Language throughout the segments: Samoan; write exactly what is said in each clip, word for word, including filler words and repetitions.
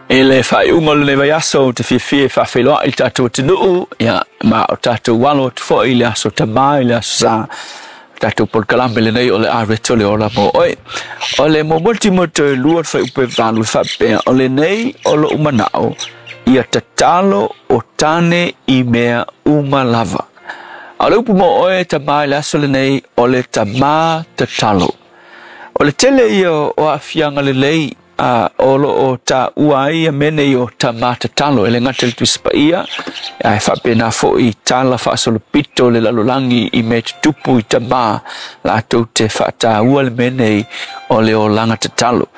I le faaiuga o lenei vaiaso ou te fiafia e faafeiloai i le tatou atunuu, ia, ma o tatou alo atu foi i le aso Tamā i le aso Sa. Tatou polokalame lenei o le Areto le Ola mo Oe. O le muamua o Timoto e lua le fuaiupu e valu e faapea, o lenei o lou manao, ia tatalo o tane i mea uma lava. A o le upu mo oe tamā i le aso lenei, o le tamā tatalo. O le tele ia o aafiaga lelei a o lo o taua ai ia mea nei o tamā tatalo, e le gata i le Tusi Paia, ae faapena foi i tala faasolopito o le lalolagi i mea tutupu i tamā latou te faataua le mea nei o le olaga tatalo.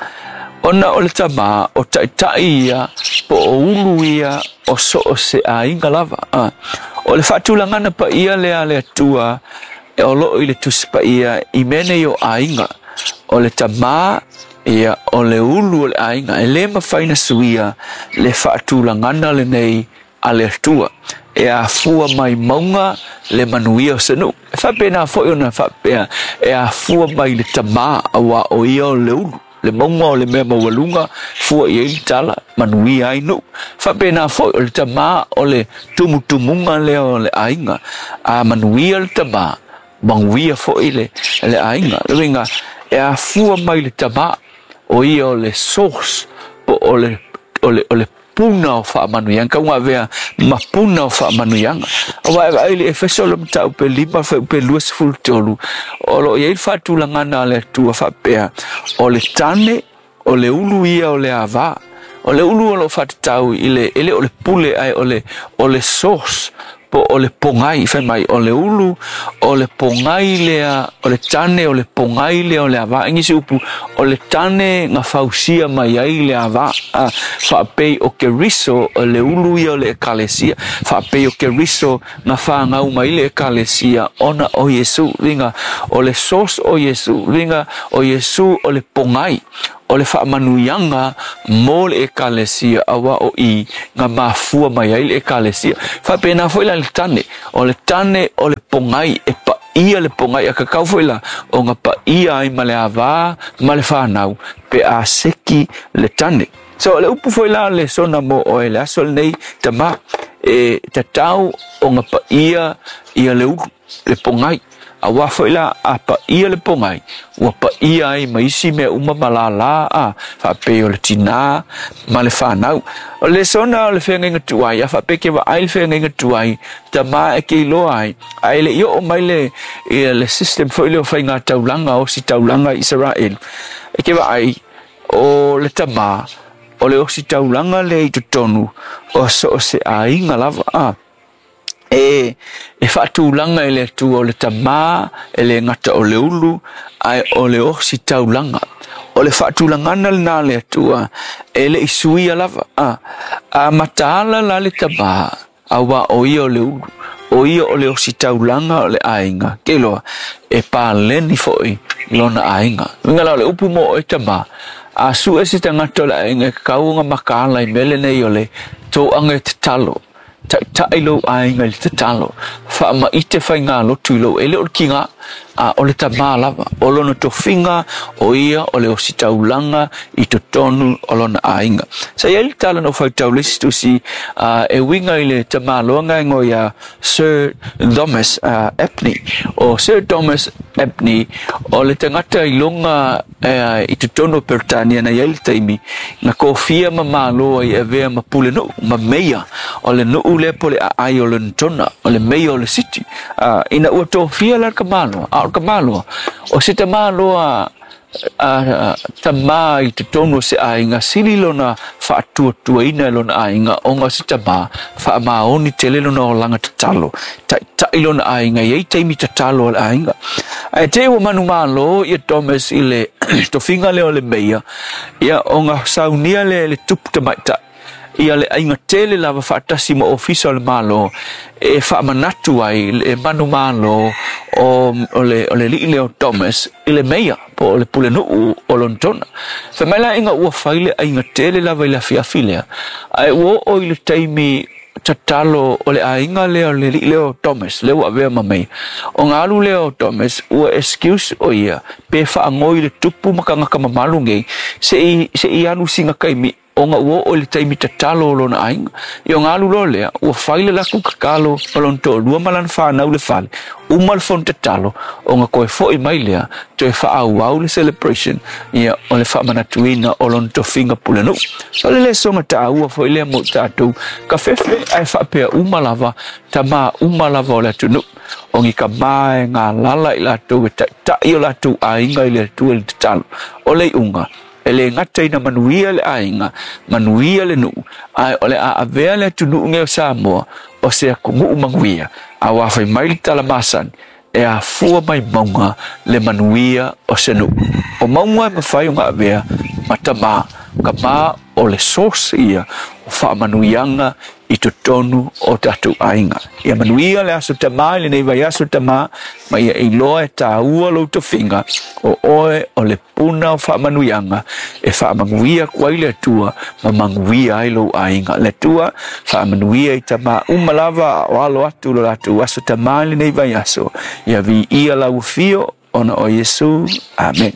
Ona o le tamā, o taitai ia po o ulu ia o so o se aiga lava. A, o le faatulagana paia lea a le Atua e o loo i le Tusi Paia i mea nei o aiga, o le tamā ia o le ulu o le aiga, e le mafai ona suia le faatulagana lenei a le Atua e afua mai mauga le manuia o se nuu. E faapena foi ona faapea e afua mai le tamā, auā o ia o le ulu, le mauga o le mea maualuga, fua i ai le tala, manuia ai nuu. Faapena foi o le tamā o le tumutumuga lea o le aiga, a manuia le tamā, manuia foi le, le aiga. Le uiga, e afua mai le tamā, o ia o le source, po o le, o le, o le puna o faamanuiaga, kauga avea ma puna o faamanuiaga. Aua e vaai i le Efeso le mataupu e lima fuaiupu e luasefulu tolu, o lo o i ai le faatulagana a le Atua faapea, o le tane, o le ulu ia o le avā. O le ulu o lo o faatatau i le, e le o le pule ae o le, o le source, po o le pogai, fai mai, o le ulu, o le pogai lea, o le tane, o le pogai lea o le avā. I nisi upu, o le tane na fausia mai ai le avā. A, faapei o Keriso, o le ulu ia o le ekalesia. Faapei o Keriso na whāngau mai le ekalesia, ona o Iesu, uiga, o le source o Iesu, uiga, o Iesu o le pogai, o le faamanuiaga mo le ekalesia, auā o i na mafua mai ai le ekalesia. Faapena foi la le tane, o le tane o le pogai, e paia le pogai, a kakau foi la o nga paia ai ma le avā ma le whanau, pe a seki le tane. So le upu foi la le sona mo oe le aso lenei tamā, e tatau o nga paia ia le ulu, le pogai. Auā foi la a paia le pogai, ua paia ai ma isi mea uma ma lālā a, faapei o le tinā ma le whanau. O le sona o le feagaiga tuai, a faapea ke vaai le feagaiga tuai, tamā e ke iloa ai, ae le i oo mai le, ia le system foi lea o faiga taulaga, ositaulaga i Israel. E ke vaai, o le tamā, o le ositaulaga lea i totonu, o so o se aiga lava a. E, e faatulaga e le Atua o le tamā, e le gata o le ulu, ae o le ositaulaga. O le faatulagana lenā a le Atua, e le i suia lava. A, a mataala la le tamā, auā o ia o le ulu, o ia o le ositaulaga o le aiga. Ke iloa, e paleni foi lona aiga. Uiga la o le upu mo oe tamā, a sue se tagata o le aiga e kakau ona makaala i mea lenei o le toaga e tatalo. Taitai lou aiga i le tatalo, faamaite faigalotu i lou, e le o le kiga, a o le tamā lava. O lona tofiga, o ia o le ositaulaga i totonu o lona aiga. Sa i ai le tala na ou faitau le isi tusi e uiga i le tamāloa gaegoa ia Sir Thomas Abney. O Sir Thomas Abney, o le tagata i luga i totonu o Peretania na i ai le taimi, na kofia ma malo ai e avea ma pulenuu, ma meia o le nuu lea po o le aai o Lonetona, o le meia o le city. Ina ua tofia la le tamāloa, a o le tamāloa, o se tamāloa a tamā i totonu o se aiga, sili lona faatuatuaina e lona aiga, ona o se tamā, faamaoni tele lona olaga tatalo, taitai lona aiga, e i ai taimi tatalo a le aiga. Ae te i ua manumalo ia Thomas i le tofiga lea o le meia, ia ona saunia lea e le tupu tamaitai, ia le aiga tele lava faatasi ma ofisa o le Malo e faamanatu ai le manumalo o, o le, o le alii lea o Thomas i le meia po o le pulenuu o Lonetona. Fai mai la ina ua fai le aiga tele lava i le afiafi lea, ae ua oo i le taimi tatalo o le aiga lea o le alii lea o Thomas, lea ua avea ma meia. Ona alu lea o Thomas, ua excuse o ia, pe faagoi le tupu ma tagata mamalu nei, se i, se i alu sina taimi, Ona ua oo i le taimi tatalo o lona aiga. Ia ona alu loa lea, ua fai le latou tatalo ma lona toalua ma lana fanau i le fale, uma le fono tatalo, ona toe foi mai lea, toe faaauau le celebration, ia o le faamanatuina o lona tofiga pulenuu. O le lesona taua foi lea mo tatou, kafefe ae faapea uma lava, tama uma lava o le atunuu. O ni tama e galala i latou e taitai o latou aiga i le Atua i le tatalo. O le iuga, e le gata ina manuia le aiga, manuia le nuu, ae o le a avea le atunuu nei o Samoa o se atunuu manuia. Aua fai mai le tala masani, e afua mai mauga le manuia o se nuu. O mauga e mafai ona avea ma tama, tama o le source ia o faamanuiaga i totonu o tatou aiga. Ia manuia le aso tama i lenei vaiaso tama, ma ia iloa e taua lou tofiga o oe o le puna o faamanuiaga e faamanuia atu ai le Atua ma manuia ai lou aiga. Le Atua faamanuia i tama uma lava o alo atu lo latou aso tama i lenei vaiaso. Ia viia lau afio ona o Iesu. Amen.